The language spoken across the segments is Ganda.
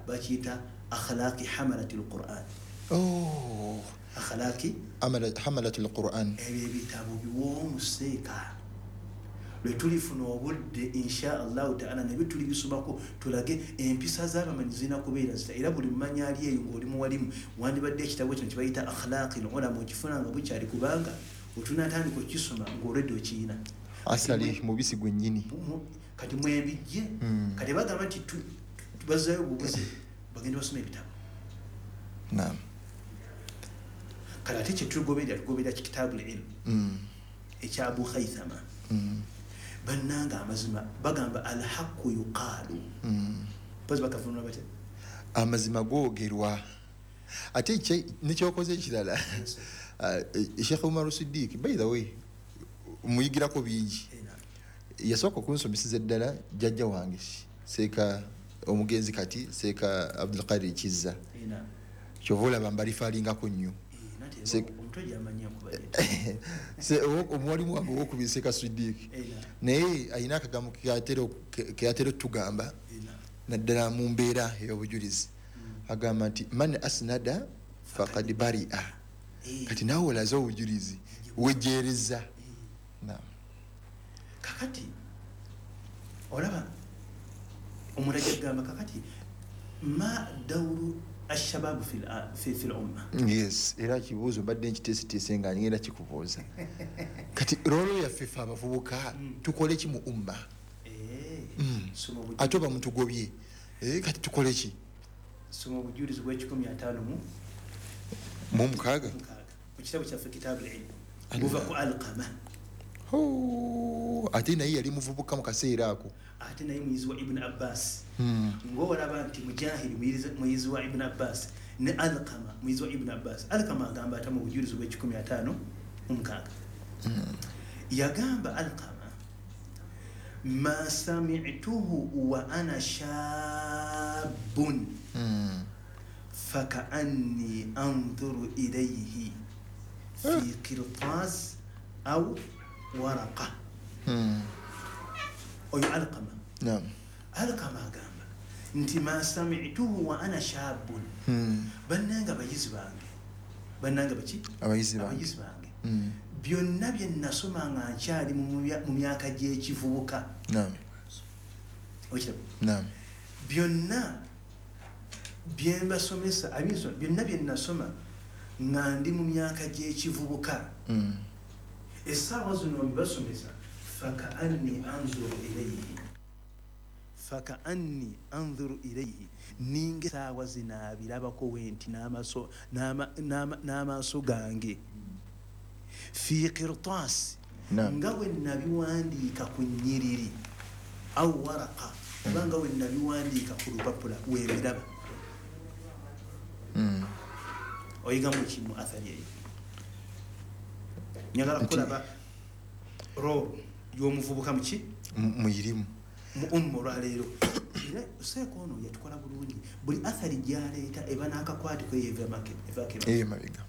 Bakiyita Akhlaqi Hamalati Lquran. Oh. Akhlaqi Hamalati Lquran. Ebyo ebitabo biwoomu seeka. Lwe tulifuna obudde, insha Allahu taala, nabyo tuli bisomako, tulage empisa z'abamanyi zirina kubeera zita. Era buli mumanyi ali eyo ng'oli muwalimu, wandibadde ekitabo kino kibayita Akhlaqi Lulama okifuna nga bukyali, kubanga otunatandika okukisoma ng'olwedde okiyina. Asali mubisi gwennyini. Kati mwembijje. Kati bagamba nti bazzayo obubuze, bagenda basoma ebitabo. Kati ate kyetugoberera, tugoberera Kitabu Lilmu ekya Abu Haithama. Bannanga, amazima bagamba alhaqu yuqaalu. Mpozi bakavunula batya? Amazima googerwa. Ate nekyokoze ekirala, Sheikh Umar Sidiik, by the way, muyigirako bingi. Yasooka okunsomeseza eddala jjajja wange Seeka omugenzi kati, Seeka Abdulkadir Kizza. Kyova olaba mbalifaalingako nnyo. Omutwe gyamanyi enkuba. Omuwalimu wange owokubiri, Seeka Sidiik, naye alina akagambo keyatera otugamba, naddala mu mbeera ey'obujulizi. Agamba nti man asnada fakad baria. Kati naawe olaze obujulizi, wejeereza. Naam. Kakati olaba omuntu ajja kugamba, kakati ma dauru ashababu fi lumma? Yes, era kibuuzo mbadde nkiteeseteese nga ngenda kikubuuza. Kati role yaffe ffe abavubuka, tukole ki mu umma? Soma Ate oba mutugobye. Kati tukole ki? Soma obujulizi bw'ekikumi ataano mu mu mukaaga. Mukaaga mu kitabo kyaffe Kitabu Lilmu, buva ku Alqama. Oh, ate naye yali muvubuka mu kaseera ako. Ate naye muyizi wa Ibuni Abbas. Ngaolaba nti Mujahidi muyizi wa Ibuni Abbas, ne Alqama muyizi wa Ibuni Abbas. Alqama agamba ata mu bujulizi bw'ekikumi ataano mu mukaaga? Yagamba Alqama, ma samituhu wa ana shabun fakaanni andhuru ilayhi fi qirtas au waraqa. Oyo Alqama. Alqama agamba nti ma samituhu wa ana shabun. Bannanga bayizi bange, bannanga baki? Abayizi bange. Abayizi bange, byonna bye nasoma nga nkyali mu myaka gy'ekivubuka, okiraba? Naam. Byonna byembasomesa byonna bye nasoma nga ndi mu myaka gy'ekivubuka, essaawa zino mbibasomesa, fakaanni anzuru ilayhi, fakaanni anzuru ilayhi, ninga essaawa zino abirabako wenti n'amaaso gange, fi qirtaasi, nga bwe nabiwandiika ku nnyiriri, au waraka, oba nga bwe nabiwandiika ku lupapula webiraba. Oyigamu ki mu athari eyo? Njagala kulaba role y'omuvubuka muki? Muyirimu. Mu umma olwaleero. Era seeka ono yatukola bulungi, buli athari gyaleeta eba n'akakwate ko evaako. Eyo mabega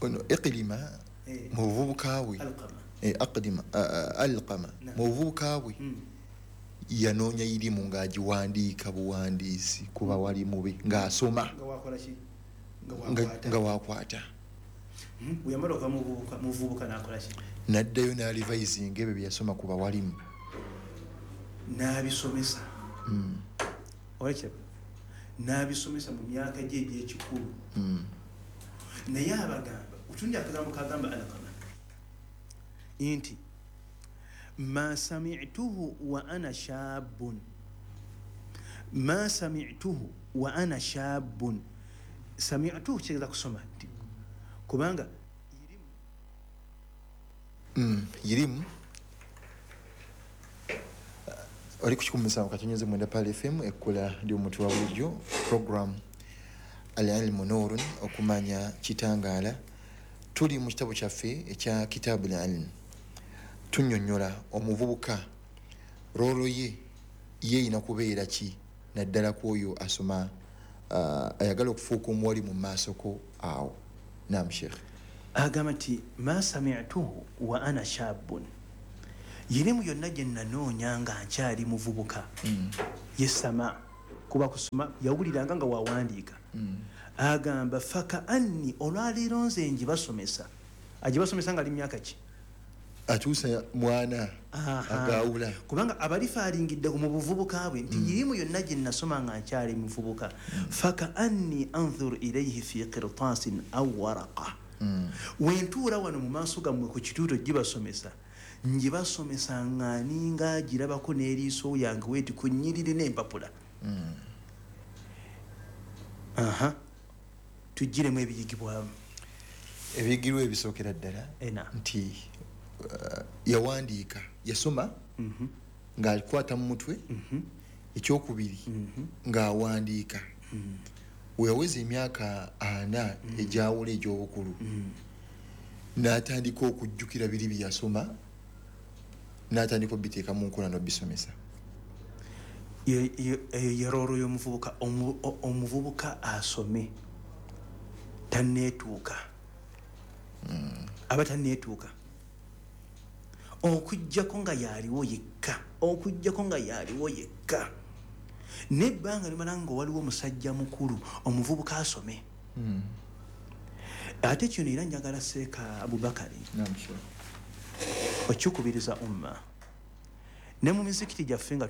ono Iqilima mu buvubuka bwe. Alqama. Aqdima, Alqama mu buvubuka bwe yanoonya irimu ng'agiwandiika buwandiisi ku bawalimu be ng'asoma. Nga wakola ki? Nga wakwata. Nga wakwata. Bwe yamala okuva mu buvubuka n'akola ki? N'addayo n'alivayizinga ebyo bye yasoma ku bawalimu. N'abisomesa. Olekiraba, n'abisomesa mu myaka gye egy'ekikulu. Naye abagamba otundi akagambo kagamba Alqama nti ma samituhu wa ana shabun, ma samituhu wa ana shabun. Samituhu kitegeeza kusoma, nti kubanga Irimu oli ku 107.9 Pal FM, ekkula ly'omuntu wa bulijjo, program Al Ilmu Nurun, okumanya kitangaala. Tuli mu kitabo kyaffe ekya Kitabu Lilm, tunyonyola omuvubuka role ye yeyina kubeera ki, naddala ku oyo asoma, ayagala okufuuka omuwali mu maasoko awo. Nam, sheikh. Agamba nti ma samituhu wa ana shabun, yirimu yonna gye nanoonya nga nkyali muvubuka, ye sama. Kuba kusoma yawuliranga nga wawandiika. Agamba faka anni olwaleero nze njibasomesa. Agibasomesa nga ali myaka ki? Atuusa mwana agawula. Kubanga abalifaalingidde mu buvubuka bwe nti irimu yonna gye nasoma nga nkyali muvubuka. Faka anni anzur ilayhi fi qirtasin aw waraqa. Wentuula wano mu maaso gammwe ku kituuto gibasomesa, njibasomesa nga ninga girabako n'eriiso yange weeti ku nnyiriri n'empapula. Tugiremu ebiyigibwamu. Ebiyigirwa ebisookera ddala nti yawandiika, yasoma ng'alikwata mu mutwe, ekyokubiri ng'awandiika. Weyaweza emyaka 4 egyawula egy'obukulu, n'atandika okujjukira biri bye yasoma, n'atandika obiteeka mu nkola n'obisomesa. Yerooro y'omuvubuka, omuvubuka asome tanneetuuka. Aba tanneetuuka. Okuggyako nga yaliwo yekka, okuggyako nga yaliwo yekka. N'ebbanga limala nga waliwo omusajja mukulu omuvubuka asome. Ate kino era njagala Seeka Abubakari okukubiriza umma ne mu mizikiti gyaffe nga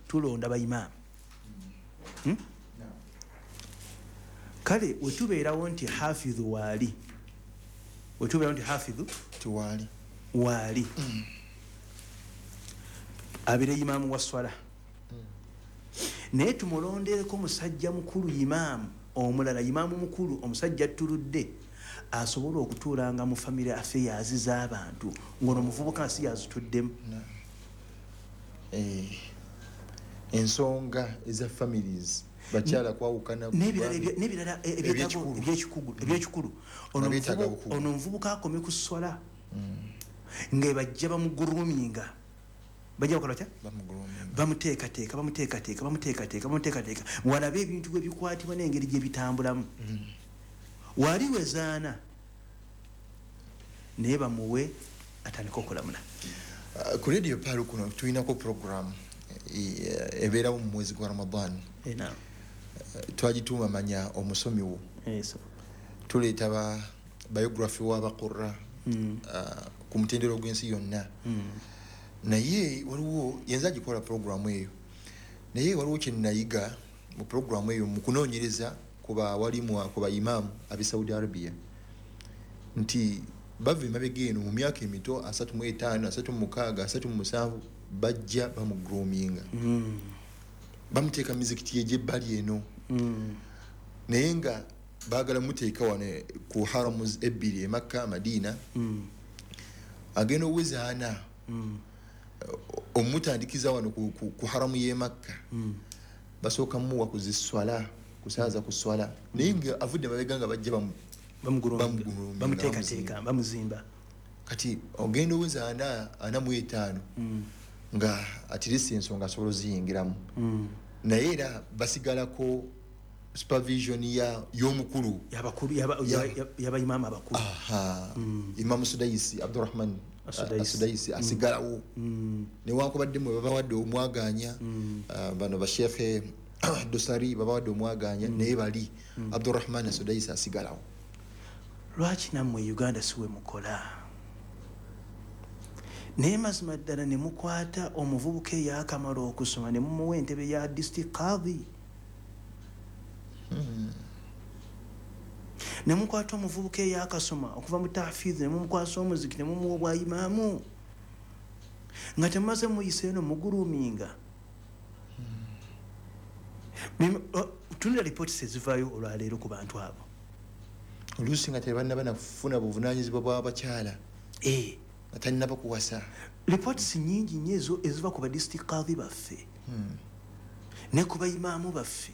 tulonda bayimaamu. Kale wetubeerawo nti hafidhu waali, wetubeerawo nti hafidhu tiwaali waali, abeere imaamu wa swala, naye tumulondereko musajja mukulu imaamu omulala, imaamu mukulu omusajja attuludde asobola okutuulanga mu family affairs z'abantu ng'ono omuvubuka nsi yazituddemu. Ensonga eza families bakyala kwawukana n'ebirala ebyekikulu. Ono omuvubuka akome ku swala nga bajja bamuguruminga, bajja bakola batya? Bamuteekateeka, bamuteekateeka, bamuteekateeka, bamuteekateeka, walabe ebintu bwe bikwatibwa n'engeri gye bitambulamu. Wali wezaana naye bamuwe atandika okulamula. Ku Radio Pearl kuno tulinako program ebeerawo mu mwezi gwa Ramadan. Twagituuma Manya Omusomi Wo. Tuleeta ba biography w'abaqurra ku mutendera gw'ensi yonna. Naye waliwo yenza agikola program eyo, naye waliwo kye nayiga mu program eyo mu kunoonyereza ku bawalimu ku baimaamu ab'e Saudi Arabia nti bava emabega eno mu myaka emito 35, 36, 37 bajja bamugroominga, bamuteeka mizikiti egy'ebbali eno, naye nga baagala muteeka wano ku haramu ebbiri e Makka, Madina. Agenda oweza 4 omutandikiza wano ku haramu y'e Makka, basooka muwa kuziswala, kusaaza kuswala, naye nga avudde mabega nga bajja bamuteekateeka, bamuzimba. Kati ogenda oweza 45 nga atirisi ensonga asobola oziyingiramu, naye era basigalako supervision y'omukulu y'abayimamu abakulu. Imamu Sudaisi, Abdurrahman Asudaisi asigalawo, newankubadde mwe babawadde omwaganya, bano bashekhe Dosari babawadde omwaganya, naye bali Abdurrahman Asudaisi asigalawo. Lwaki nammwe Uganda siwe mukola? Naye mazima ddala ne mukwata omuvubuka eyakamala okusoma ne mumuwa entebe ya district qadhi, ne mukwata omuvubuka eyakasoma okuva mu tahfidh ne mumukwasa omuziki ne mumuwa obwayimaamu nga temaze muyise eno muguruminga. Tunula ripooti ezivaayo olwaleero ku bantu abo, oluusi nga tebannaba nafuna buvunaanyizibwa bw'abakyala, nga tannaba kuwasa. Ripooti nnyingi nnyo ezo eziva ku ba district qadhi baffe ne ku bayimaamu baffe.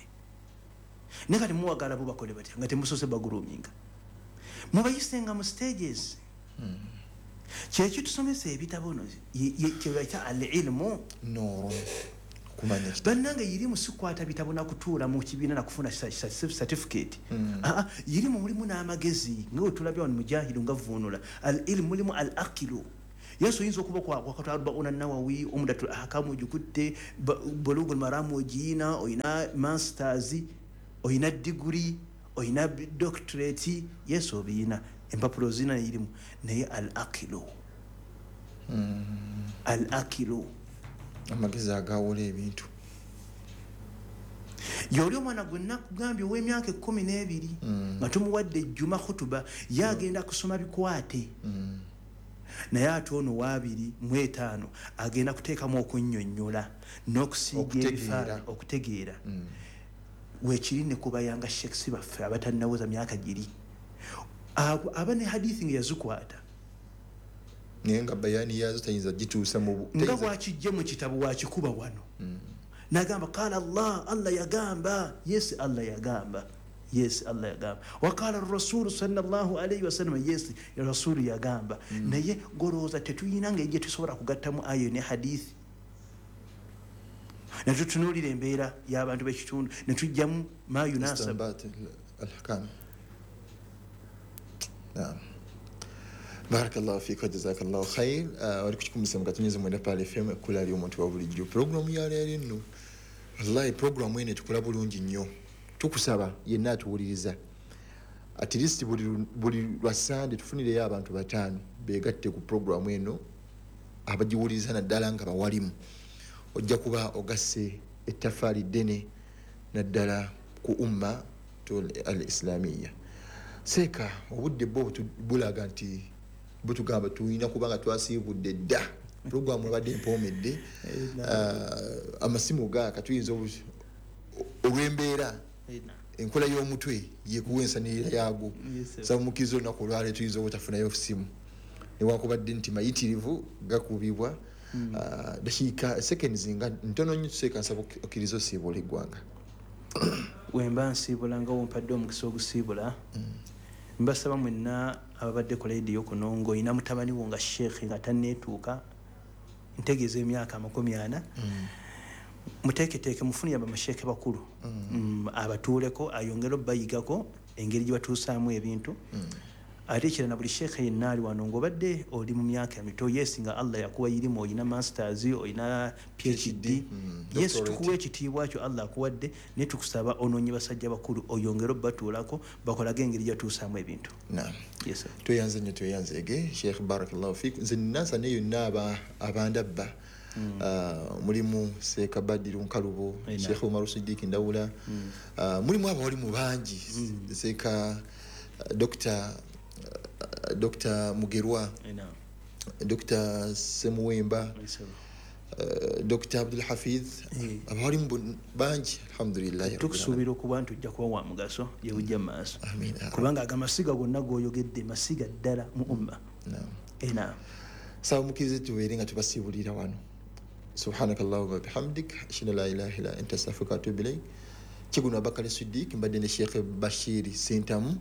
Naye kati muwagala bo bakole batya nga temusoose baguruminga? Mubayisenga mu stages. Kyekitusomesa ebitabo no kyebayita al-ilmu nurun, Bannange yirimu sikwata bitabo nakutuula mu kibiina nakufuna certificate. Yirimu mulimu n'amagezi nga wetulabye wano mujahidu nga vvuunula. Al ilmu mulimu al aqilu. Yesu oyinza okuba kwakata Arbauna Nawawi, Umdatul Ahkam ogikutte, Bulugul Maram ogiyina, oyina masters, oyina degree, oyina doctorate, yesu obiyina, empapulo zina irimu, naye al aqilu al aqilu, amagezi agawula ebintu. Yoli omwana gwe nakugambye ow'emyaka 12 nga tumuwadde ejjuma khutuba, yagenda kusoma bikwate. Naye ate ono wa 25 agenda kuteekamu okunnyonnyola n'okusiiga ebifaananyi, okutegeera. Weekiri ne kubayanga shekisi baffe abatannaweza myaka giri, aba ne hadithi nga yazikwata, naye nga bayani yazo tayinza gituusa mu nga bwakijje mu kitabo wakikuba wano. Nagamba qala Allah, Allah yagamba, yes Allah yagamba, yes Allah yagamba, waqala rasulu sallallahu alayhi wasallam, yes rasulu yagamba. Naye golowooza tetuyina ngeri gye tusobola kugattamu ayo ne hadithi, ne tutunuulira embeera y'abantu b'ekitundu ne tujjamu ma yunasab al-ahkam. Naam, barakallahu fika, jazakallahu khair. Wali kukikumisa mukatunyeze mwenda Pale FM ekkula ly'omuntu wa bulijjo. Programu ya leero nno, wallahi programu eno etukola bulungi nnyo. Tukusaba yenna atuwuliriza, at least buli lwa Sande tufunireyo abantu 5 beegatte ku programu eno, abagiwuliriza naddala nga bawalimu. Ojja kuba ogasse ettaffaali ddene naddala ku umma al islamiya. Seeka obudde bwo bulaga nti butugamba tulina kubanga twasiibudde dda. Programu ebadde empoomedde, amasimu gaaka tuyinza olw'embeera enkola y'omutwe yekuwa ensanirira yaago. Saba mukkiriza olunaku olwaleero tuyinza obutafunayo simu, newankubadde nti mayitirivu gakubibwa. Dakiika seconds nga ntono nnyo. Tuseeka nsaba okkiriza osiibula eggwanga. Wemba nsiibula nga wompadde omukisa ogusiibula, mbasaba mwenna ababadde ku lediyo kuno, ng'olina mutabani wo nga sheekhe nga tanneetuuka, ntegeeza emyaka 40, muteeketeeke mufunire abamasheekhe bakulu abatuuleko, ayongere obbayigako engeri gye batuusaamu ebintu. Ate ekirala na buli sheekhe yenna ali wano ng'obadde oli mu myaka emito, yes nga Allah yakuwa irimu, olina masters, olina PhD, yes tukuwa ekitiibwa kyo Allah akuwadde, naye tukusaba onoonye basajja bakulu oyongere obbatuulako bakolage engeri gyatuusaamu ebintu. Naam, yes tweyanze nnyo, tweyanzeege Sheikh, barakallahu fik. Nze nnansa ne yonna abandabba, mulimu Seeka Badiru Nkalubo, Sheikh Umaru Siddiq Ndawula, mulimu abawalimu bangi, Seeka Dr. Mugerwa, Dr. Semuwemba, Dr. Abdul Hafiz, abawalimu bangi, alhamdulillah. Tukusuubira okuba nti ojja kuba wa mugaso gye bujja mu maaso, kubanga agamasiga gonna g'oyogedde masiga ddala mu umma. Naam, saba mukkirize tubeere nga tubasiibulira wano. Subhanakallahumma bihamdik, ashhadu an la ilaha illa anta, astaghfiruka wa atubu ilayk. Kiguno Abakali Siddiq, mbadde ne Sheikh Bashir Sentamu.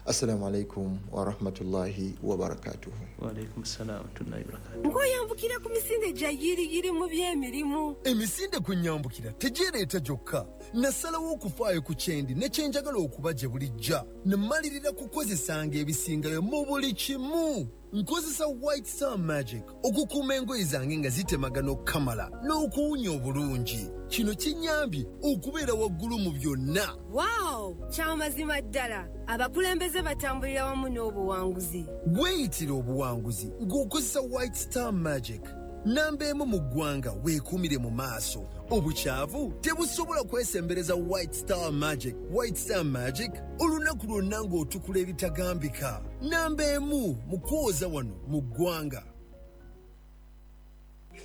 Assalamu alaikum wa rahmatullahi wa barakatuhu. Wa alaikum assalam wa rahmatullahi wa barakatuhu. Nkoyambukira ku misinde gya yiriyiri mu by'emirimu. Emisinde kwe nyambukira tegyereeta gyokka. Nasalawo okufaayo ku kyendi ne kye njagala okuba gye bulijja. Ne mmalirira kukozesanga ebisingayo mu buli kimu. Nkozesa White Star Magic okukuuma engoye zange nga zitemagana okukamala n'okuwunya obulungi. Kino kinnyambye okubeera waggulu mu byonna. Wow! Kyamazima ddala, abakulembeze batambulira wamu n'obuwanguzi. Weeyitira obuwanguzi ng'okozesa White Star Magic. Namba emu mu ggwanga, weekuumire mu maaso. Obukyavu tebusobola kwesembereza White Star Magic. White Star Magic, olunaku lwonna ng'otukula ebitagambika. Namba emu mu kwoza wano mu ggwanga.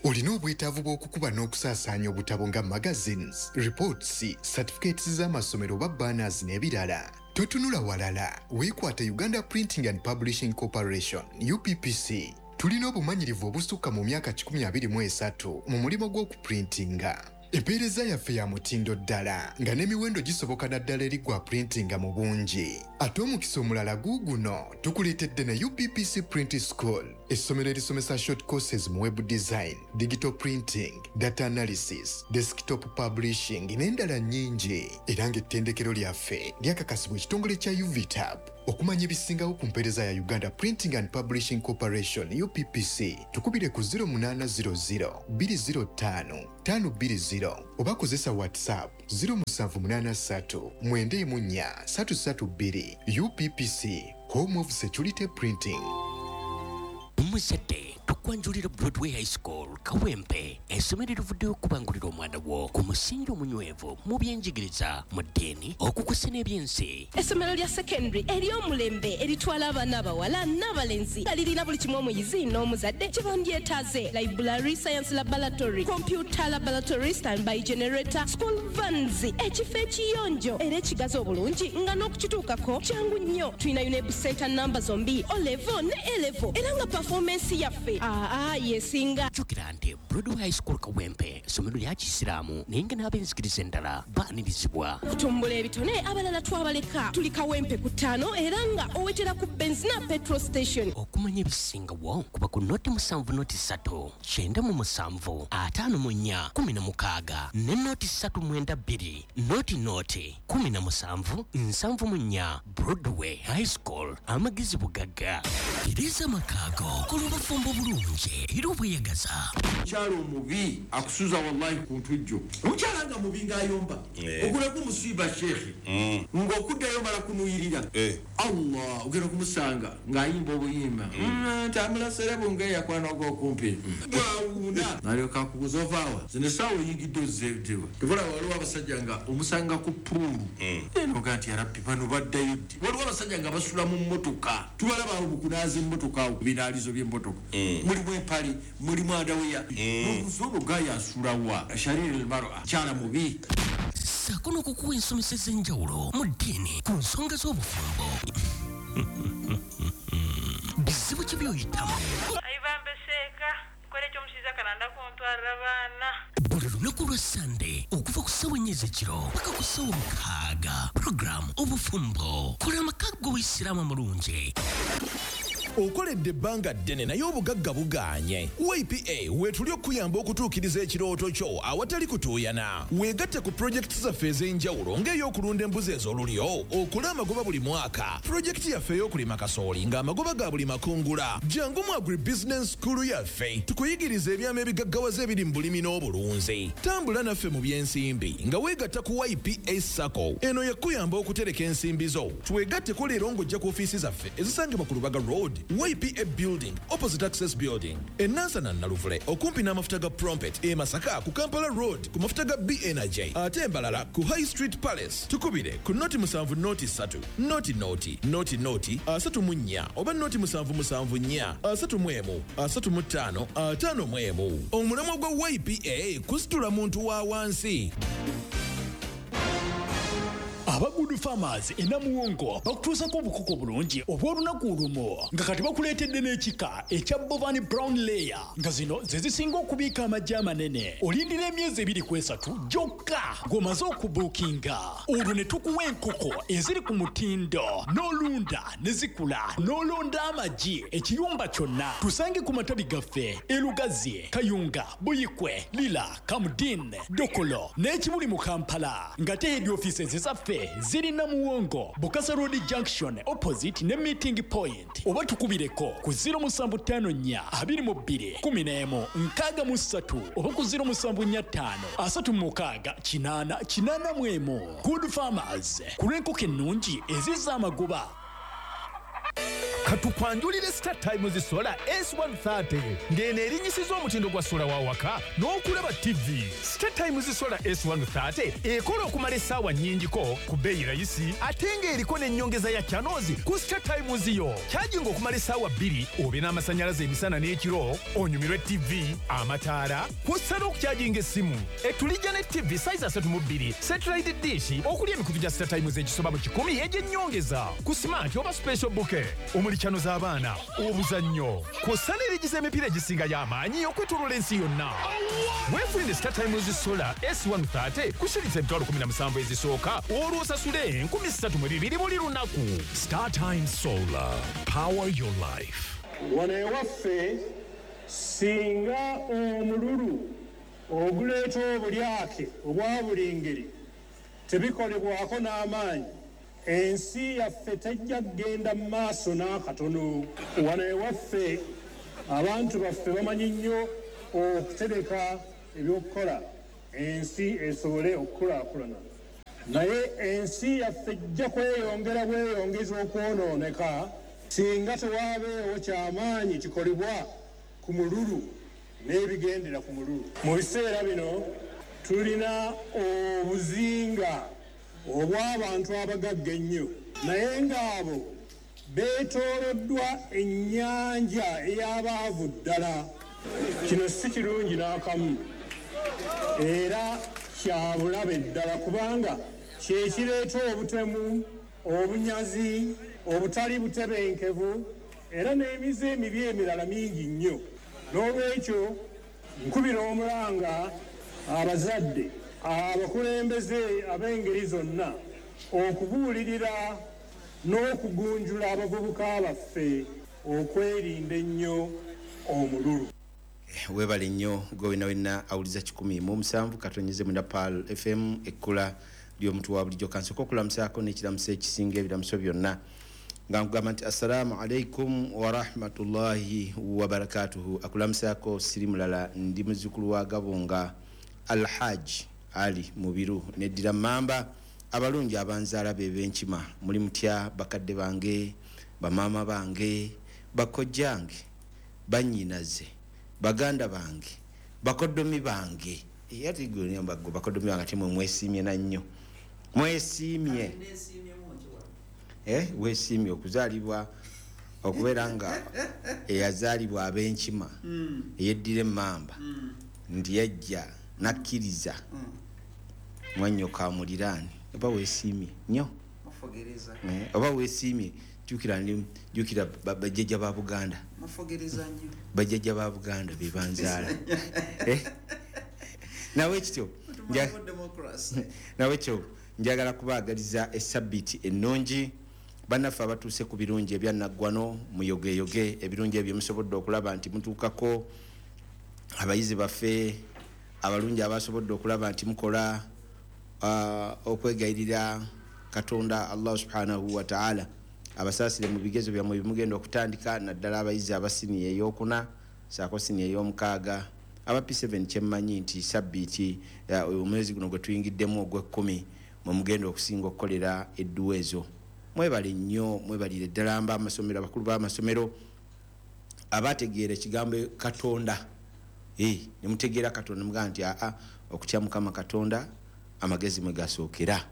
Olina obwetaavu bw'okukuba n'okusaasaanya obutabo nga magazines, reports, certificates z'amasomero oba banners n'ebirala. Totunula walala, weekwate Uganda Printing and Publishing Corporation, UPPC. Tulina obumanyirivu obusukka mu myaka 123 mu mulimu gw'okuprintinga. Empeereza yaffe ya mutindo ddala nga n'emiwendo gisoboka naddala eri gwa printinga mu bungi. Ate omukisa omulala guuguno, tukuleetedde ne UPPC Print School, essomero erisomesa short courses mu web design, digital printing, data analysis, desktop publishing n'endala nnyingi, era ng'ettendekero lyaffe lyakakasibwa ekitongole kya UVTAB. Okumanya ebisingawo ku mpeereza ya Uganda Printing and Publishing Corporation UPPC, tukubire ku 0800 205 520 oba kozesa WhatsApp 0783 94 332. UPPC, Home of Security Printing. Omuzadde, tukwanjulira Broadway High School Kawempe, essomero erivuddeyo okubangulira omwana wo ku musingi omunywevu mu byenjigiriza, mu ddiini, okukusa n'ebyensi. Essomero lya secondary ery'omulembe eritwala abaana abawala n'abalenzi nga lirina buli kimu omuyizi n'omuzadde kye bandyetaaze: library, science laboratory, computer laboratory, standby generator, school vans, ekifo ekiyonjo era ekigazi obulungi nga n'okukituukako kyangu nnyo. Tulina UNEB center namba zombi, O level ne A level, era nga performance yaffe aa yesinga. Jjukira nti Broadway High School Kawempe essomero lya Kisiraamu, naye nga n'ab'enzikiriza endala baanirizibwa. Okutumbula ebitone, abalala twabaleka. Tuli Kawempe ku 5 era nga owetera ku Benzina petrol station. Okumanya ebisingawo kuba ku 070 3 97 54 16 ne 0 392 00 17 74. Broadway High School, amagezi bugagga. Tereza amakaago, kola obufumbo bulungi era obweyagaza. Omukyala omubi akusuza wallahi ku ntujjo. Omukyala nga mubi ng'ayomba, ogulako omusiiba sheekhe, ng'okuddayo mala kunuyirira. Allah, ogenda kumusanga ng'ayimba obuyimba tambula serebu ng'eyakwana ogwokumpi bwawuuna, nalyoka akubuza ovaawa zino essaawa oyingidde ozzeetewa. Tebula waliwo abasajja nga omusanga ku pool enoga nti yarabbi, bano baddayo ddi? Waliwo abasajja nga basula mu mmotoka, tubalaba awo mu kunaaza emmotoka, awo binaalizo by'emmotoka, mulimu empale, mulimu underwear, nobuuza ono gayo asulawa? Shariri lmar'a, kyala mubi. Ssaako n'okukuwa ensomesa ez'enjawulo mu ddiini ku nsonga z'obufumbo. Bizibu ki by'oyitamu? Ayibambe seeka nkole ekyomushiza kalanda kuntwarira abaana. Buli lunaku lwa Sande okuva ku ssaawa 4 ez'ekiro paka ku ssaawa 6, puroguramu Obufumbo, kola amaka g'Obuyisiraamu amulungi. Okoledde ebbanga ddene naye obugagga bugaanye. YPA weetuli okuyamba okutuukiriza ekirooto kyo awatali kutuuyana. Weegatte ku pulojekiti zaffe ez'enjawulo ng'ey'okulunda embuzi ez'olulyo okole amagoba buli mwaka, pulojekiti yaffe ey'okulima kasooli ng'amagoba ga buli makungula. Jangu mu Agribusiness School yaffe tukuyigiriza ebyama ebigaggawaza ebiri mu bulimi n'obulunzi. Tambula naffe mu by'ensimbi nga weegatta ku YPA SACCO. Eno yakuyamba okutereka ensimbi zo. Twegatteko leero ng'ojja ku ofiisi zaffe ezisangibwa ku Lubaga Road, YPA Building, opposite Access Building, enansana Naluvule okumpi n'amafuta ga Prompet, e Masaka ku Kampala Road ku mafuta ga B Energy, ate embalala ku High Street Palace. Tukubire ku 070 0 3 00 00 34 oba 077 4 31 35 51. Omulamwa gwa YPA kusitula muntu wa wansi. Aba Good Farmers enamuwongo bakutuusako obukoko bulungi obw'olunaku olumu, nga kati bakuleetedde n'ekika ekya Bovani Brown Layer, nga zino ze zisinga okubiika amagi amanene. Olindira emyezi 2 ku 3 gyokka ng'omaze okubuukinga, olwo ne tukuwa enkoko eziri ku mutindo n'olunda ne zikula n'olonda amagi ekiyumba kyonna. Tusange ku matabi gaffe Elugazi, Kayunga, Buyikwe, Lira, Kamudin, Dokolo n'Ekibuli mu Kampala, nga te head offices zaffe ziri Namuwongo, Bukasa Road Junction, opposite ne Meeting Point, oba tukubireko ku 0754 22 11 63 oba ku 0745 36 8 81. Good Farmers, ku lw'enkoko ennungi ezizza amagoba. Katukwanjulire Star Times Solar S130, ng'eno erinyisiza omutindo gwa sola wa waka n'okulaba TV. Star Times Solar S130 ekola okumala essaawa nnyingiko ku bbeeyi rayisi, ate ng'eriko n'ennyongeza ya channels ku Star Times yo. Kyajinga okumala essaawa 2 obe n'amasannyalaze emisana n'ekiro, onyumirwe TV, amataala, kw'ossa n'okukyajinga essimu. Etulijja ne TV size 32, satellite dish okuli emikutu gya Star Times egisoba mu 100 egy'ennyongeza ku smart oba special bouquet. Omuli Omuli channel z'abaana, obuzannyo, kw'ossa n'erigi z'emipiira egisingayo amaanyi okwetooloola ensi yonna. Weefunire Star Times Solar S130 ku shilingi 17,000 ezisooka, olwo osasule 3,200 buli lunaku. Star Times Solar, power your life. Wano ewaffe singa omululu oguleeta obulyake obwa buli ngeri tebikolebwako n'amaanyi, ensi yaffe tejja kugenda mu maaso n'akatono. Wano ewaffe abantu baffe bamanyi nnyo okutereka ebyokukola ensi esobole okukulaakulana, naye ensi yaffe ejja kweyongera bweyongeza okwonooneka singa tewaabeewo kyamaanyi kikolebwa ku mululu n'ebigendera ku mululu. Mu biseera bino tulina obuzinga obw'abantu abagagga ennyo, naye ng'abo beetooloddwa ennyanja ey'abaavu ddala. Kino si kirungi n'akamu era kya bulabe ddala, kubanga kye kireeta obutemu, obunyazi, obutali butebenkevu era n'emize emibi emirala mingi nnyo. N'olwekyo nkubira omulanga abazadde, abakulembeze ab'engeri zonna okubuulirira n'okugunjula abavubuka baffe okwerinda ennyo omululu. Webale nnyo gwe wena wena awuliza 107.9 Pearl FM, ekkula ly'omuntu wa bulijjo. Kansooke okulamusaako n'ekiramuso ekisinga ebiramuso byonna nga nkugamba nti assalaamu alaikum warahmatullahi wabarakatuhu. Akulamusaako siri mulala, ndi muzzukulu wa Gabunga Alhaji Ali Mubiru, neddira Mamba. Abalungi abanzaala be b'enkima, muli mutya bakadde bange, bamaama bange, bakojjange, bannyinaze, baganda bange, bakoddomi bange. Ate gwe bakoddomi bange ate mwe mwesiimye na nnyo, mwesiimye. Weesiimye okuzaalibwa, okubeera nga eyazaalibwa ab'enkima, eyeddira emmamba, nti yajja nakkiriza mwannyoko amuliraane. Oba weesiimye nnyo, oba weesiimye. Jjukira bajjajja ba Buganda, bajjajja ba Buganda be banzaala. Nawe kityo nawe kyo njagala kubaagaliza essabbiiti ennungi. Bannaffe abatuuse ku birungi ebyannaggwano, muyogeyoge ebirungi ebyo musobodde okulaba nti mutuukako. Abayizi baffe abalungi abasobodde okulaba nti mukola okwegayirira Katonda Allah subhanahu wa ta'ala abasaasire mu bigezo byammwe bimugenda okutandika, naddala abayizi aba siniya ey'okuna saako siniya ey'omukaaga, aba P7. Kyemmanyi nti sabbiiti omwezi guno gwe tuyingiddemu ogw'ekkumi mwe mugenda okusinga okukolera edduwa ezo. Mwebale nnyo, mwebalire ddala mba amasomero, abakulu b'amasomero abategeera ekigambo Katonda, ne mutegeera Katonda, mugamba nti aa okutya Mukama Katonda amagezi mwe gasookera,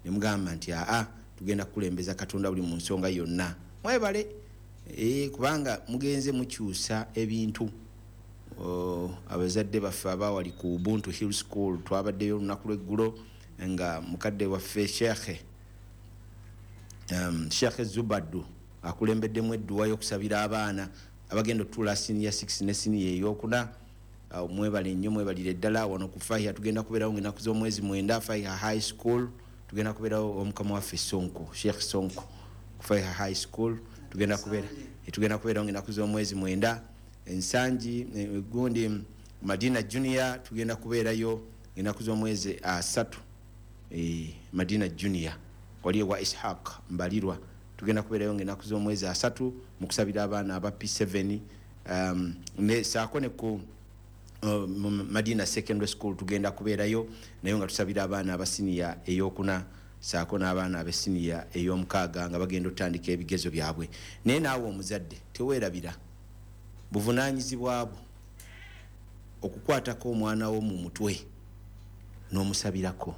ne mugamba nti aa tugenda kukulembeza Katonda buli mu nsonga yonna. Mwebale, kubanga mugenze mukyusa ebintu. Abazadde baffe abawali ku Ubuntu Hill School twabaddeyo olunaku lw'eggulo nga mukadde waffe Sheikh Zubaddu akulembeddemu edduwa y'okusabira abaana abagenda okutuula siniya 6 ne siniya ey'okuna. Mwebale nnyo, mwebalire ddala. Wano ku Fahiha tugenda kubeerawo ng'ennaku z'omwezi 9, Fahiha High School tugenda kubeerawo omukama waffe Sonko, Sheikh Sonko ku Fahiha High School tugenda kubeerawo ng'ennaku z'omwezi 9. Ensangi gundi Madina Junior tugenda kubeerayo ng'ennaku z'omwezi 3, Madina Junior wali ewa Ishaq Mbalirwa tugenda kubeerayo ng'ennaku z'omwezi 3 mu kusabira abaana aba P7. Ne saako ne ku Madina Secondary School tugenda kubeerayo naye nga tusabira abaana aba siniya ey'okuna saako n'abaana ab'esiniya ey'omukaaga nga bagenda okutandika ebigezo byabwe. Naye naawe omuzadde teweerabira buvunaanyizibwa bwo okukwatako omwana wo mu mutwe n'omusabirako.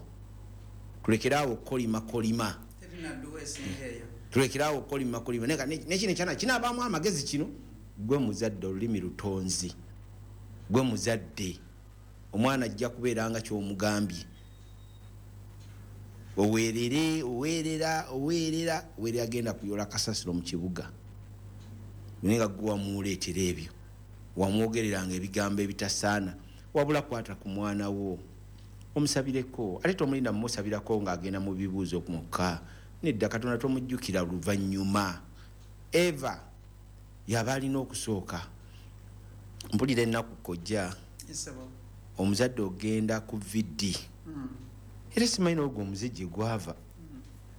Tulekeraawo okukolimakolima, tulekeraawo okukolimakolima. Nekino ekyana kinaabaamu amagezi kino. Gwe muzadde olulimi lutonzi, gwe muzadde omwana ajja kubeera nga ky'omugambye. Oweerere, oweerera, oweerera, oweerera agenda kuyola kasasiro mu kibuga. Naye nga gwe wamuleetera ebyo, wamwogereranga ebigambo ebitasaana. Wabula kwata ku mwana wo omusabireko, ate tomulinda mumusabirako ng'agenda mu bibuuzo mwokka. Nedda, Katonda tomujjukira luvannyuma. Eva yaba alina okusooka. Mpulira ennaku kojja, omuzadde ogenda ku VD, era simanyi n'ogwo omuze gye gwava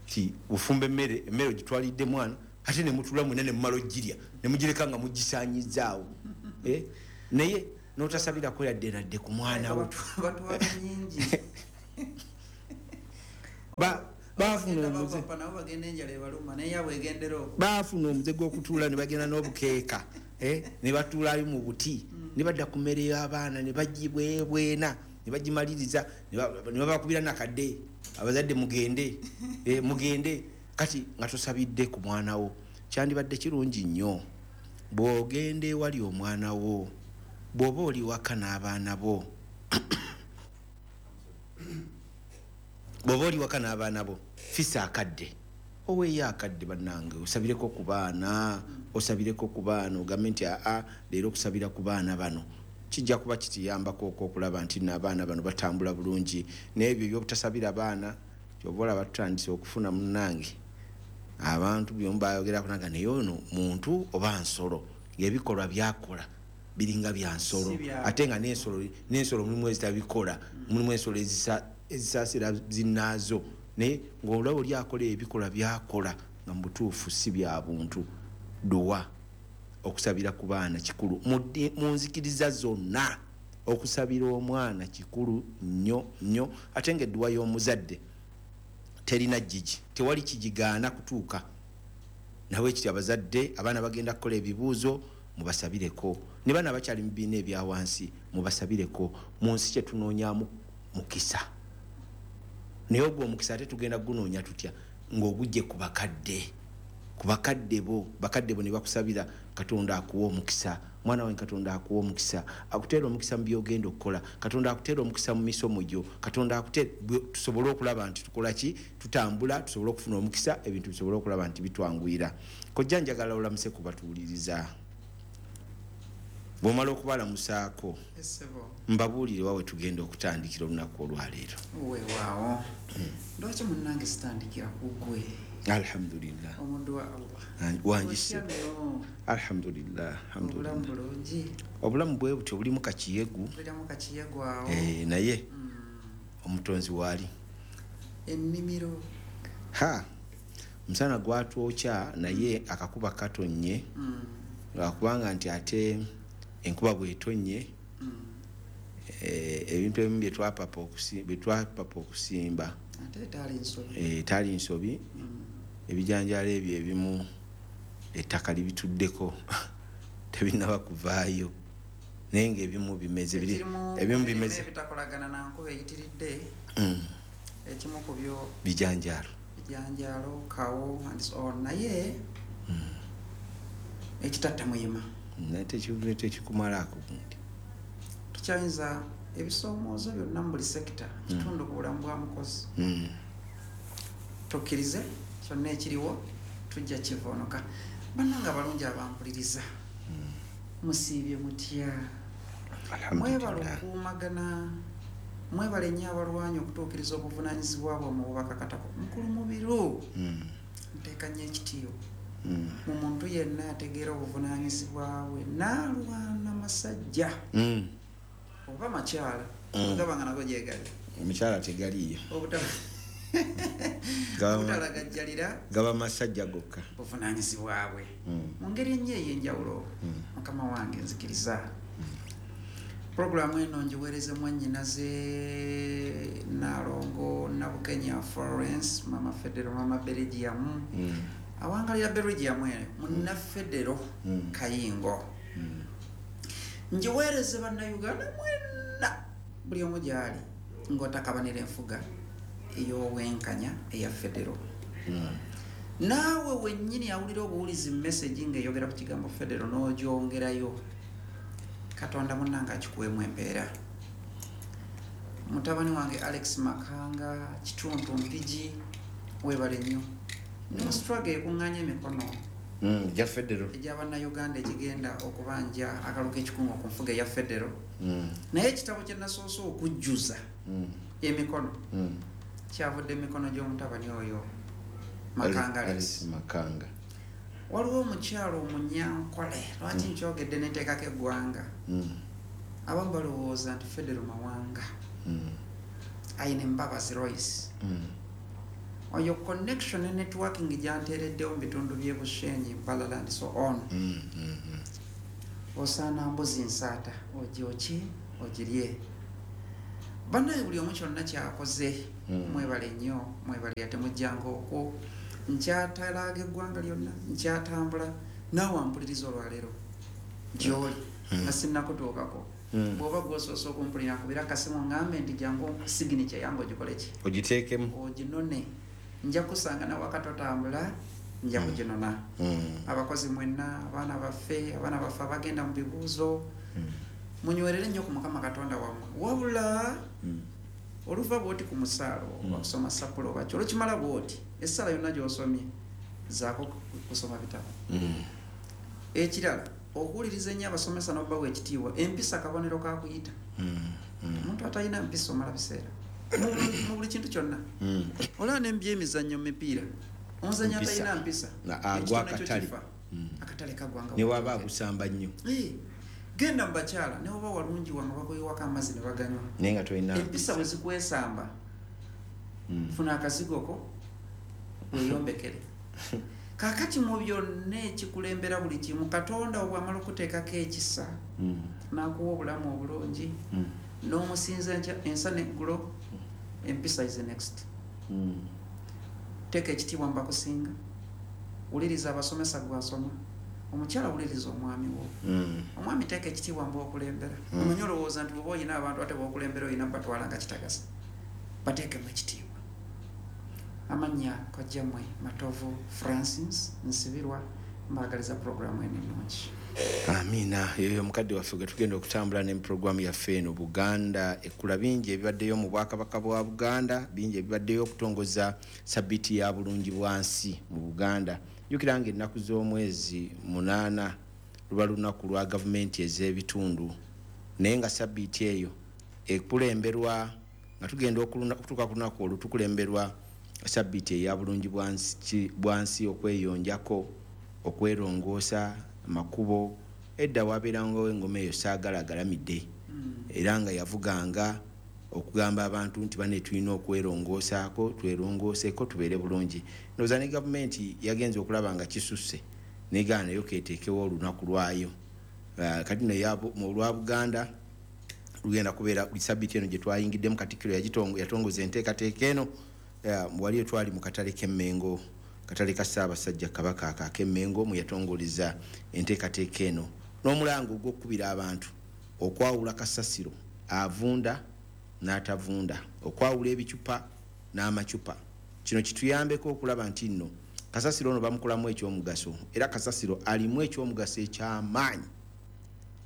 ti ofumba emmere, emmere ogitwalidde mwana, ate ne mutula mwena ne mumala ogirya ne mugireka nga mugisaanyizaawo, naye n'otasabirako yadde nadde ku mwana wo. Baafuna omuze gw'okutuula ne bagenda n'obukeeka, ne batuulayo mu buti, ne badda ku mmere y'abaana ne bagibwebwena ne bagimaliriza, ne babakubira nakadde, abazadde mugende, mugende. Kati nga tosabidde ku mwana wo. Kyandibadde kirungi nnyo bw'ogenda ewali omwana wo, bw'oba oli waka n'abaana bo, bw'oba oli waka n'abaana bo, fisa akadde, oweeyo akadde bannange, osabireko ku baana, osabireko ku baana, ogambe nti aa leero okusabira ku baana bano kijja kuba kitiyambako okulaba nti n'abaana bano batambula bulungi. N'ebyo ebyobutasabira baana, kyova olaba tutandise okufuna munnange abantu byomu bayogerako naga, naye ono muntu oba nsolo, ng'ebikolwa byakola biringa bya nsolo, ate nga n'ensolo mulimu ezitabikola, mulimu ensolo ezisaasira zinnaazo, naye ng'olaba oli akola ebikolwa byakola nga mu butuufu si bya buntu. Duwa, okusabira ku baana kikulu mu nzikiriza zonna. Okusabira omwana kikulu nnyo nnyo, ate ng'edduwa y'omuzadde terina jjiji, tewali kigigaana kutuuka. Nawe kiti abazadde abaana bagenda kukola ebibuuzo, mubasabireko. Ne baana abakyali mu bibiina ebya wansi mubasabireko. Mu nsi kye tunoonyaamu mukisa, naye ogwo omukisa ate tugenda gugunoonya tutya? Ng'ogujje ku bakadde, ku bakadde bo, bakadde bo ne bakusabira, Katonda akuwa omukisa. Mwana wange, Katonda akuwa omukisa, akuteera omukisa mu by'ogenda okukola, Katonda akuteera omukisa mu misomo gyo, Katonda akuteera, tusobole okulaba nti tukola ki, tutambula, tusobole okufuna omukisa, ebintu bisobole okulaba nti bitwanguyira. Kojja njagala olamuse ku batuwuliriza. Bw'omala okubalamusaako, mbabuulire wa we tugenda okutandikira olunaku olwaleero. Weewaawo. Lwaki munnange sitandikira ku ggwe? Alhamdulillah. Omuddu wa Allah. Wangise. Alhamdulillah. Obulamu bulungi. Obulamu bwe butyo bulimu kakiyegu. Bulimu kakiyegu awo. Naye omutonzi waali. Ennimiro. Ha! Omusana gwatwokya, naye akakuba katonnye. Lwakubanga nti ate enkuba bw'etonnye, ebintu ebimu bye twapapa okusimba etaali nsobi, ebijanjaalo ebyo ebimu ettaka libituddeko tebinnaba kuvaayo, naye ng'ebimu bimeze, ebimu bimeze ebitakolagana na nkuba eyitiridde. Ekimu ku byo bijanjaalo, kawo and so on, naye ekitatta muyima naye tekikumalaako gundi. Tukyayinza ebisoomoozo byonna mu buli sekita kitundu ku bulamu bwa mukozi. Tukkirize kyonna ekiriwo tujja kivoonoka. Bannange abalungi abampuliriza, musiibye mutya? Mwebale okukuumagana, mwebale nnyo abalwanyi okutuukiriza obuvunaanyizibwa bwammwe obubakakatako. Mukulu Mubiru, nteeka nnyo ekitiibwa mu muntu yenna ategeera obuvunaanyizibwa bwe n'alwana masajja oba makyala, ogaba nga nago gyegali. Omukyala tegaliiyo. Obutalagajjalira gaba masajja gokka buvunaanyizibwa bwe mu ngeri ennyo ey'enjawulo. Mukama wange, nzikiriza puroguramu eno ngiweereze mwannyinaze Naalongo Nabukenya Florence, Mama Federo, Mama Belgium, awangalira Belgium eno, munnafedero Kayingo. Ngiweereze bannayuganda mwenna buli omu gy'ali ng'otakabanira enfuga ey'obwenkanya eya federo. Naawe wennyini awulira obuwulizi message ng'eyogera ku kigambo federo n'ogyongerayo, Katonda munnange akikuweemu empeera. Mutabani wange Alex Makanga Kituntu Mpigi, weebale nnyo. Ndi mu struggle ekuŋŋaanya emikono Ja federo egy'abannayuganda ekigenda okubanja akalulu k'ekikungo ku nfuga eya federo. Naye ekitabo kye nasoose okujjuza emikono kyavudde emikono gy'omutabani oyo Makanga Alex. Makanga. Waliwo omukyalo omunyankole, lwaki nkyogedde neteekako eggwanga, abamu balowooza nti federo mawanga, ayina Embabazi Royce. Oyo connection ne networking gyanteereddewo mu bitundu by'e Bushenyi, Mbalala and so on. Osaana mbuzi nsaata ogyoki ogirye. Bannaye buli omu kyonna kyakoze, mwebale nnyo, mwebale ate mujjanga okwo. Nkyatalaaga eggwanga lyonna, nkyatambula, naawe ampuliriza olwaleero gy'oli nga sinnakutuukako. Bw'oba gw'osoose okumpulira, nkubira akasimu ngambe nti jangu signature yange ogikole ki, ogiteekemu, oginone. Nja kusanga nawaka totambula, nja kuginona. Abakozi mwenna, abaana baffe abagenda mu bibuuzo, munywerere nnyo ku Mukama Katonda wammwe. Wabula oluva bw'oti ku musaalo oba kusoma sapula oba ki, olukimala bw'oti essala yonna gy'osomye zaako kusoma bitabo. Ekirala, okuwuliriza ennyo abasomesa n'obbawa ekitiibwa. Empisa kabonero ka kuyita. Omuntu atalina mpisa omala biseera mu buli kintu kyonna. Olaba n'embyemizannyo mu mipiira, omuzannyo atalina mpisa agwa akatale, akatale kagwanga ne waba agusamba nnyo. Genda mu bakyala, ne oba walungi wanga bakuyiwako amazzi ne baganywa, naye nga tolina empisa. Bwe zikwesamba, funa akazigoko weeyombekere. Kaakati mu byonna ekikulembera buli kimu, Katonda obwamala okuteekako ekisa n'akuwa obulamu obulungi n'omusinza ensa n'eggulo, empisa is the next. Teeka ekitiibwa mu bakusinga, wuliriza abasomesa gwasoma. Omukyala, wuliriza omwami wo. Omwami, teeka ekitiibwa mu b'okulembera. Omanyi olowooza nti bw'oba oyina abantu ate b'okulembera oyina batwala nga kitagasa, bateekemu ekitiibwa. Amannya kojjammwe Matovu Francis Nsibirwa, mbaagaliza puroguramu eno ennungi. Amiina. Yoyo omukadde waffe gwe tugenda okutambula ne puroguramu yaffe eno Buganda Ekkula. Bingi ebibaddeyo mu Bwakabaka bwa Buganda, bingi ebibaddeyo okutongoza sabbiiti ya bulungi bwansi mu Buganda. Jjukira nga ennaku z'omwezi 8 luba lunaku lwa gavumenti ez'ebitundu, naye nga sabbiiti eyo ekulemberwa nga tugenda okutuuka ku lunaku olwo, tukulemberwa sabbiiti eya bulungi bwansi, okweyonjako, okwerongoosa amakubo. Edda wabeerangawo engoma eyo Saagala Agalamidde, era nga yavuganga okugamba abantu nti bane tulina okwerongoosaako, twerongooseeko tubeere bulungi. Ndowooza ne gavumenti yagenza okulaba nga kisusse, negaana nayo keeteekewo olunaku lwayo. Kati no olwa Buganda lugenda kubeera sabbiiti eno gye twayingiddemu. Katikkiro yatongoza enteekateeka eno. Waliyo twali mu katale k'Emmengo, katale ka Ssaabasajja Kabaka ak'Emmengo, mwe yatongoleza enteekateeka eno n'omulango ogw'okukubira abantu okwawula kasasiro avunda n'atavunda, okwawula ebicupa n'amacupa. Kino kituyambeko okulaba nti nno kasasiro ono bamukolamu ekyomugaso, era kasasiro alimu ekyomugaso ekyamaanyi,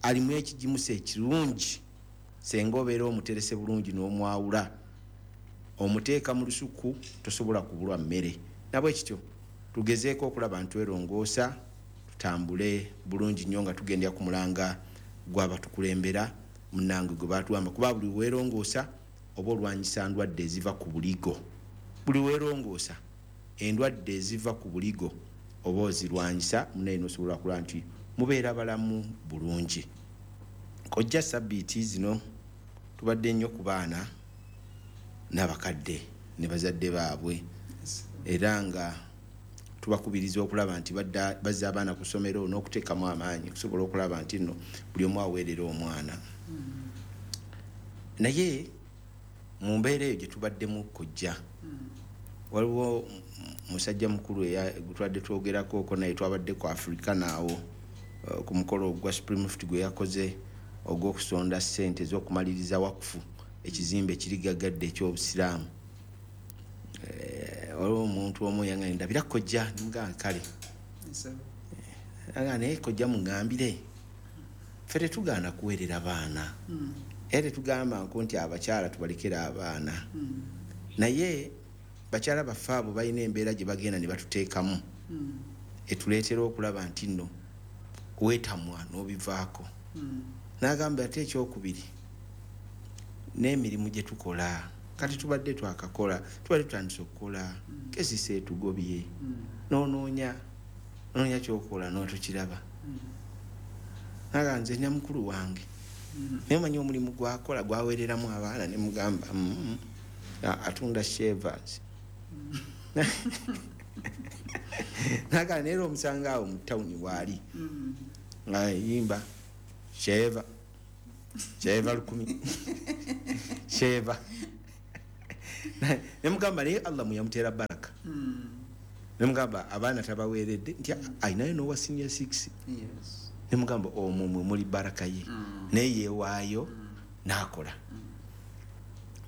alimu ekigimusa ekirungi senga obeera omuterese bulungi n'omwawula, omuteeka mu lusuku, tosobola kubulwa mmere. Nabwe kityo tugezeeko okulaba nti twerongoosa, tutambule bulungi nnyo nga tugendera ku mulanga gw'abatukulembera munnange gwe batugamba, kuba buli weerongoosa oba olwanyisa ndwadde eziva ku buligo. Buli weerongoosa endwadde eziva ku buligo oba ozirwanyisa, munaye nosobola kulaba nti mubeera balamu bulungi. Kojja, sabbiiti zino tubadde nnyo ku baana n'abakadde ne bazadde baabwe, era nga tubakubiriza okulaba nti bazza abaana ku ssomero n'okuteekamu amaanyi okusobola okulaba nti nno buli omu aweerera omwana. Naye mu mbeera eyo gye tubaddemu, kojja, waliwo musajja mukulu gwe tubadde twogerako oko naye, twabadde ku Africa naawo ku mukolo gwa Supreme Mufti gwe yakoze ogw'okusonda ssente ez'okumaliriza wakufu, ekizimbe ekiri gagadde ekyobusiraamu. Waliwo omuntu omu yangambye, ndabira kojja, nimugamba kale. Aga naye kojja muŋŋambire, ffe tetugaana kuweerera baana, era tetugamba nko nti abakyala tubalekere abaana, naye bakyala baffe abo balina embeera gye bagenda ne batuteekamu. Etuleetera okulaba nti nno weetamwa n'obivaako. N'agamba ate ekyokubiri, n'emirimu gye tukola kati tubadde twakakola, tubadde tutandise okukola, kesisa etugobye, n'onoonya noonya kyokola n'otokiraba. Naga nze nina mukulu wange, naye omanyi omulimu gwakola gwaweereramu abaana, ne mugamba atunda shavers. Naga naye omusanga awo mu tawuni waali nga yimba sheva sheva 1000 sheva, ne mugamba naye Allah muyamuteera baraka. Ne mugamba abaana tabaweeredde nti ayinayo n'owa senior 6. Ne mugamba omwo mwe muli baraka ye, naye yeewaayo n'akola.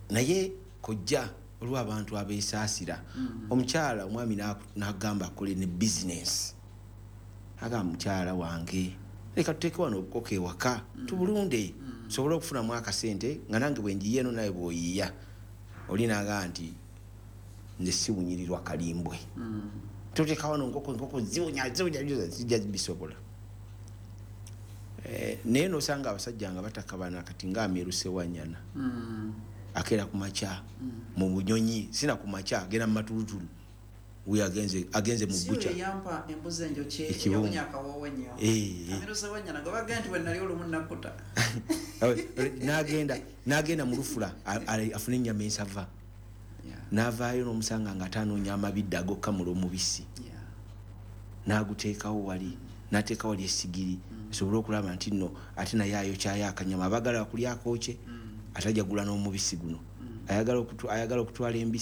Naye kojja olw'abantu abeesaasira, omukyala omwami n'agamba akole ne bizinesi, agamba mukyala wange leka tuteeke wano obukoko ewaka tubulunde, tusobole okufunamu akasente nga nange bwe njiye eno nawe bw'oyiiya. Oli n'agamba nti nze siwunyirirwa kalimbwe, tuteeka wano enkoko, enkoko ziwunya ziwunya zijja bisobola. Naye n'osanga abasajja nga batakabana kati nga Amiru Ssewanyana akeera ku makya mu bunyonyi, sina ku makya agenda mu matulutulu, wuyo agenze mu bbuca. Si yampa embuzi enjokye Ekibumba. Eyawunya akawoowo ennyo. Amiru Ssewanyana gwe bagamba nti bwe nali olumu nakkuta. N'agenda mu lufula afune ennyama ensava. N'avaayo n'omusanga nga atanoonya amabidde ag'okkamula omubisi. N'aguteekawo wali, n'ateeka wali essigiri, asobole okulaba nti nno ate naye ayokyayo akanyama. Abaagala kulya akookye, ate ajja gula n'omubisi guno. Ayagala okutwala embisi.